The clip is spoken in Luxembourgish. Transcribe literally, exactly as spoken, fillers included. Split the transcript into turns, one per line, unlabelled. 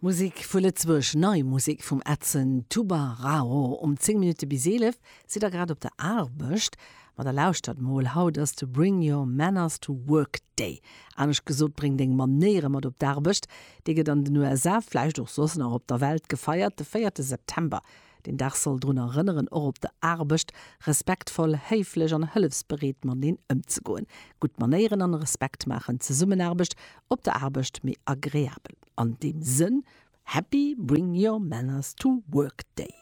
Musek vu Lëtzebuerg, nei Musek vum Edson Tubarao. Um zéng Minutte bis eelef. Sidd der grad op der Aarbecht? Ma da lauschtert mol, haut ass de Bring Your Manners to Work Day. Anescht gesot, bréng deng Manéiere mat op d'Aarbecht. Dee gëtt an den U S A, vläicht och soss nach op der Welt, gefeiert, de véierte September. Den Dag soll drun erënneren, och op der Aarbecht respektvoll, héiflech an hëllefsbereet mateneen ëmzegoen. Gutt Manéieren an Respekt maachen d'Zesummenaarbecht op der Aarbecht méi agreabel. An deem Sënn, Happy Bring Your Manners to Work Day.